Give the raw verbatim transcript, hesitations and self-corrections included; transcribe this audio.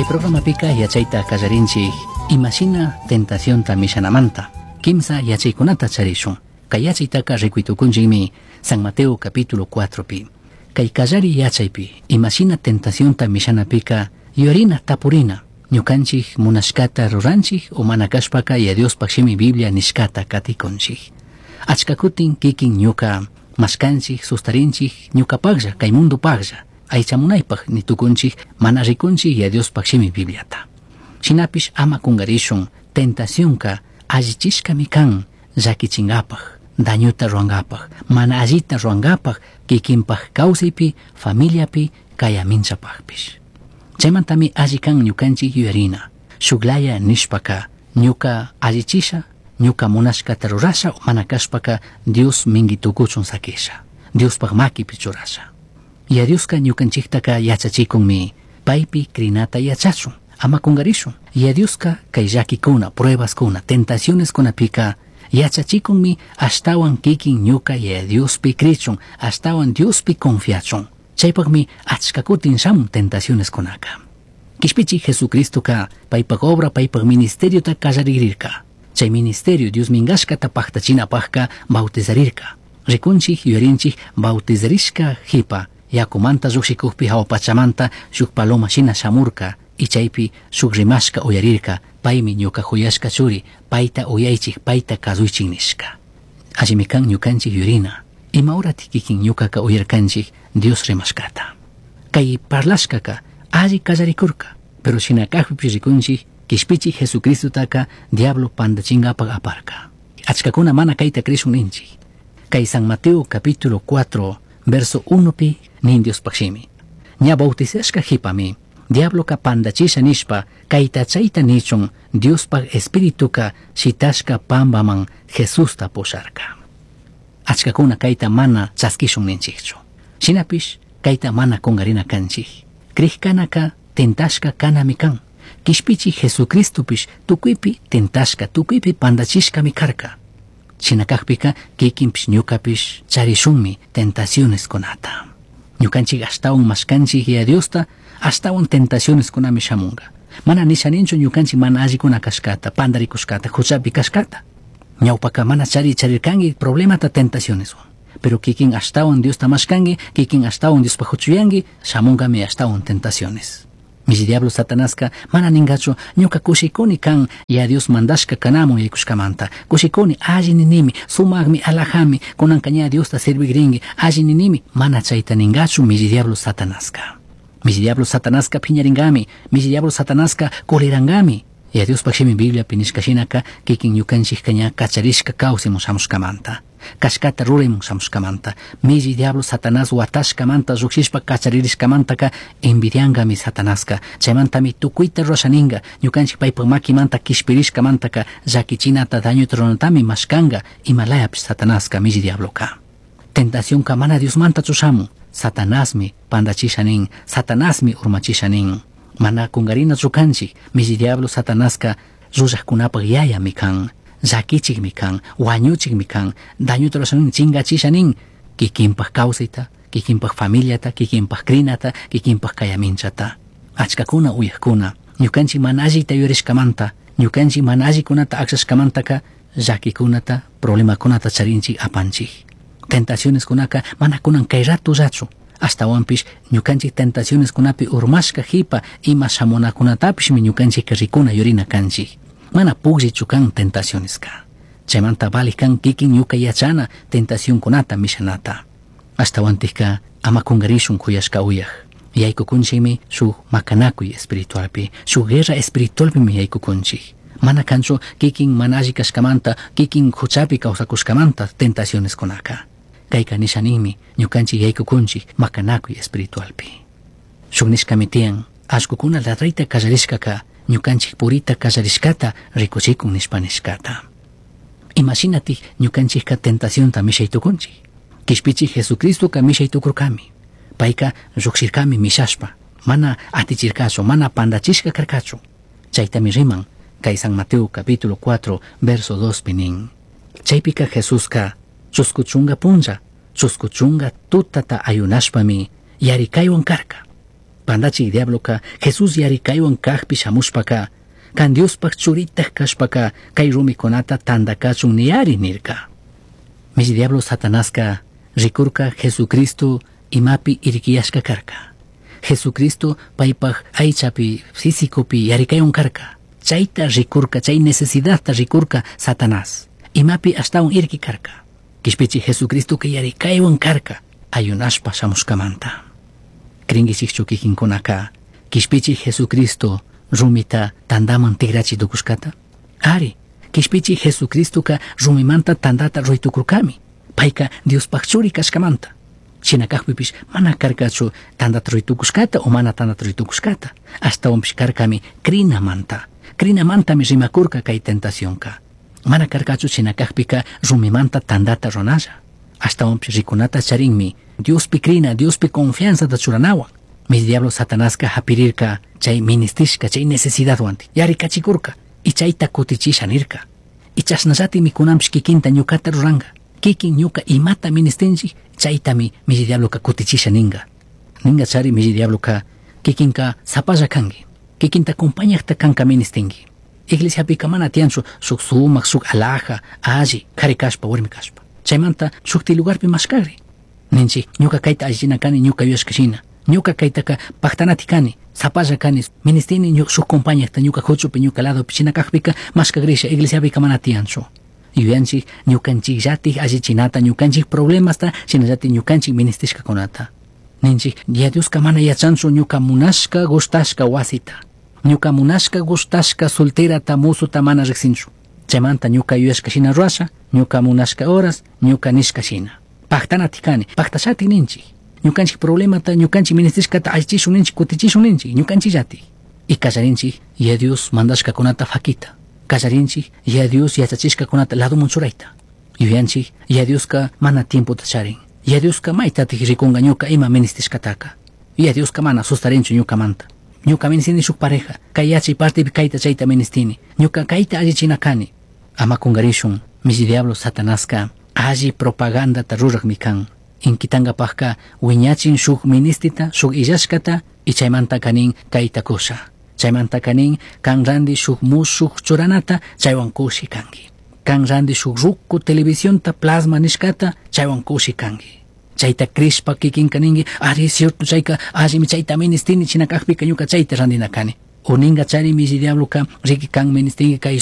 Kay programapika yachayta kallarinchik imashina tentacionta mishanamanta. Kimsa yachaykunata charishun. Kay yachaytaka rikuytukunchikmi San Mateo capítulo cuatro pi. Kay kallari yachaypi imashina tentacionta mishanapika yuyarina tapurina. Ñukanchik munashkata ruranchik o mana kashpaka ya Diospaj shimi Biblia nishkata katikunchik. Achka kutin kikin ñuka mashkanchik sustarinchik ñukapajlla kay mundupajlla aychamunaypaj nitukunchik mana rikunchik ya Diospaj shimi Bibliata. Shinapish ama kungarishun tentacionka allichishkami kan llakichinkapaj, dañuta ruwankapaj, mana allita ruwankapaj kikinpaj kawsaypi, familiapi, kayaminchapajpish. Chaymantami alli kan ñukanchik yuyarina. Shuklaya nishpaka ñuka allichisha, ñuka munashkata rurasha o mana kashpaka Dios mingi tukuchun sakisha, Diospaj makipi churasha. Ya Dioska ñukanchiktaka yachachikunmi paypi krinata yachachun, ama kungarishun. Ya Dioska kay llakikuna, pruebaskuna, tentacioneskunapika yachachikunmi ashtawan kikin ñuka ya Diospi krichun, ashtawan Diospi confiachun. Chaypaqmi achka kutin shamun tentacioneskunaka. Kishpichi Jesucristoka paypaq obra, paypaq ministeriota kallarigrirka. Chay ministerio Dios mingashkata paqtachinapaqka bautizarirka. Rikunchik yuyarinchik bautizarishka jipa yakumanta lluqshikukpi hawa pachamanta shuk paloma shina shamurka y chaypi shuk rimashka uyarirka paymi ñuka huyashka churi payta uyaychik payta kasuychik nishka. Allimi kan ñukanchik yuyarina. Ima horatik kikin ñukaka uyarkanchik Dios rimashkata. Kay parlashkaka alli kallarikurka, pero shina kajpipish rikunchik kishpichi Jesucristotaka diablo pandachinkapak aparka. Achkakuna mana kayta krishun ninchik. Kay San Mateo capítulo cuatro verso uno pi nin Diospaj shimi. Ña bautizashka jipami diabloka pandachisha nishpa kayta chayta nichun Diospaj espirituka shitashka pambaman Jesusta pusharka. Achkakuna kayta mana chaskishun ninchikchu. Shinapish kayta mana kungarina kanchik. Krikkanaka tentashka kanami kan. Kishpichi Jesucristopish tukuypi tentashka, tukuypi pandachishkami karka. Shinakajpika kikinpish ñukapish charishunmi tentacioneskunata. Ñukanchik ashtawan mashkanchik ya Diosta, ashtawan tentacioneskunami shamunga. Mana nishaninchu ñukanchik mana allikuna kashkata, pandarikushkata, huchapi kashkata. Ñawpaka mana chari charirkanki problemata tentacioneswan. Pero kikin ashtawan Diosta mashkanki, kikin ashtawan Diospaj huchuyanki, shamungami ashtawan tentaciones. Mishi diablo Satanaska mana ningachu ñuka kushikuni kan ya Dios mandashka kanamun yaykushkamanta. Kushikuni alli ninimi, sumaqmi alajami, kunanka ña Diosta servigrinki, alli ninimi, mana chayta ningachu mishi diablo Satanaska. Mishi diablo Satanaska phiñaringami, mishi diablo Satanaska kulirangami. Ya Diospaj shimi Bibliapi nishka shinaka kikin ñukanchikka ña kacharishka kawsimun shamushkamanta. Kashkata ruraymun shamushkamanta. Mishi diablo Satanás watashkamanta lluqshishpa kacharirishkamantaka envidiangami Satanaska. Chaymantami tukuyta rurashaninga ñukanchik paypaj makimanta kishpirishkamantaka llakichinata dañuta ruranatami mashkanga imalayapish Satanaska mishi diabloka. Tentacionka mana Diosmanta chushamun. Satanasmi pandachisha nin, Satanasmi urmachisha nin. Mana kungarina kanchik, mishi diablo Satanaska llullajkunapaj yayami kan, llakichikmi kan, wañuchikmi kan, dañuta rurasha nin, chingachisha nin, kikinpaj kawsayta, kikinpaj familiata, kikinpaj krinata, kikinpaj kayaminchata. Achkakuna uyajkuna, ñukanchik mana allita yuyarishkamanta, ñukanchik mana allikunata aklashkamantaka llakikunata, problemakunata charinchik apanchik. Tentacioneskunaka mana kunan kay ratullachu. Ashtawanpish ñukanchik tentacioneskunapi urmashka jipa ima shamunakunatapishmi ñukanchik rikuna yurina kanchik. Mana pukllichu kan tentacioneska. Chaymanta vali kan kikin ñuka yachana tentacionkunata mishanata. Ashtawantikka ama kungarishun kuyashka uyaj. Yaykukunchikmi shuk makanakuy espiritualpi, shuk guerra espiritualpimi yaykukunchik. Mana kanchu kikin mana alli kashkamanta, kikin huchapi kawsakushkamanta tentacioneskunaka. Kayka nishaninmi ñukanchik yaykukunchik makanakuy espiritualpi. Shuk nishkami tiyan, allkukuna ladrayta kallarishkaka ñukanchik purita kallarishkata rikuchikun nishpa nishkata. Imashinatik ñukanchikka tentacionta mishay tukunchik. Kishpichik Jesucristoka mishay tukurkami. Payka lluqshirkami mishashpa, mana atichirkachu, mana pandachishka karkachu. Chaytami riman kay San Mateo capítulo cuatro verso dos pi nin. Chaypika Jesuska chusku chunga punlla, chusku chunga tutata ayunashpami yarikaywan karka. Pandachij diabloca Jesús yaricaihuan cajpi shamushpaca can Diospaj churitaj cashpaca kay rumikunata tanda kachun niyari nirka. Mishi diablo Satanaska rikurka Jesucristo imapi irquiyashka karka. Jesucristo paypaj aychapi físicopi yarikaywan karka. Chayta rikurka, chay necesidadta rikurka Satanás. Imapi ashtawan irqui karka. Kishpichi Jesucristo yarikaywan karka ayunashpa shamushkamanta. Cringuichikchu kikinkunaka kishpichi Jesucristo rumita tandaman tigrachi tukushkata? Ari, kishpichi Jesucristoka rumimanta tandata ruitukurkami. Payka Diospaj churi kashkamanta. Shina kajpipish mana karkachu tandata ruitukushkata o mana tandata ruitukushkata. Ashtawanpish karkami crinamanta. Crinamantami rimakurka kay tentacionka. Mana karkachu shina kajpika rumimanta tandata runalla. Ashtawanpish rikunata charinmi Diospi crina, Diospi confianzata churanawan. Mi diablo Satanaska hapirirka chay ministishka, chay necesidadwan yarikachikurka y chayta kutichisha nirka. Y chashnallatimi kunanpish kikinta ñukata ruranka. Kikin ñuka imata ministinchik chaytami mishi diabloka kutichisha ninga. Ninga chari mishi diabloka kikinka sapalla kanki. Kikinta compañaqta kanka ministinki. Iglesiapika mana tiyanchu shuk sumak, shuk alhaja, alli, kari kashpa, warmi kashpa. Chaymanta shukti lugarpi mashkagri. Ninchik ñuka kayta allichina kani ñuka yuyashka shina. Ñuka kaytaka pactanati kani, sapalla kani, ministini shuk compañaqta ñuka huchupi, ñuka ladopi, shina kajpika mashkagrisha iglesiapika mana tiyanchu. Yuyanchik ñukanchikllatik allichinata, ñukanchik problemasta, shinallatik ñukanchik ministishkakunata. Ninchik, ya Dioska mana yachanchu ñuka munashka gustashka wasita. Ñuka munashka gustashka solterata musuta mana riksinchu. Chaymanta ñuka yuyashka shina rurasha, ñuka munashka horas, ñuka nishka shina. Pactanati kani, pactashatik ninchik. Ñukanchik problemata, ñukanchik ministishkata allichishun ninchik, kutichishun ninchik, ñukanchikllatik. Y kallarinchik, ya Dios mandashkakunata fakita. Kallarinchik, ya Dios yachachishkakunata ladoman churayta. Yuyanchik, ya Dioska mana tiempota charin. Ya Dioska maytatik rikunga ñuka ima ministishkataka. Ya Dioska mana sustarinchu ñukamanta. Ñuka ministini shuk pareja, kay yachay partipi kayta chayta ministini. Ñuka kayta allichina kani. Ama kungarishun, mishi diablo Satanaska alli propagandata rurakmi kan. Inkitankapajka wiñachin shuk ministita, shuk illashkata y chaymanta kanin kayta kusha. Chaymanta kanin kan randi shuk mushuk churanata chaywan kushi kanki. Kan randi shuk ruku televisionta plasma nishkata chaywan kushi kanki. Chayta crishpa kikinka ninki, ari cierto chayka allimi chayta ministini shina kajpika ñuka chayta randina kani. O ninga chari mishi diabloka riki kan ministinki kay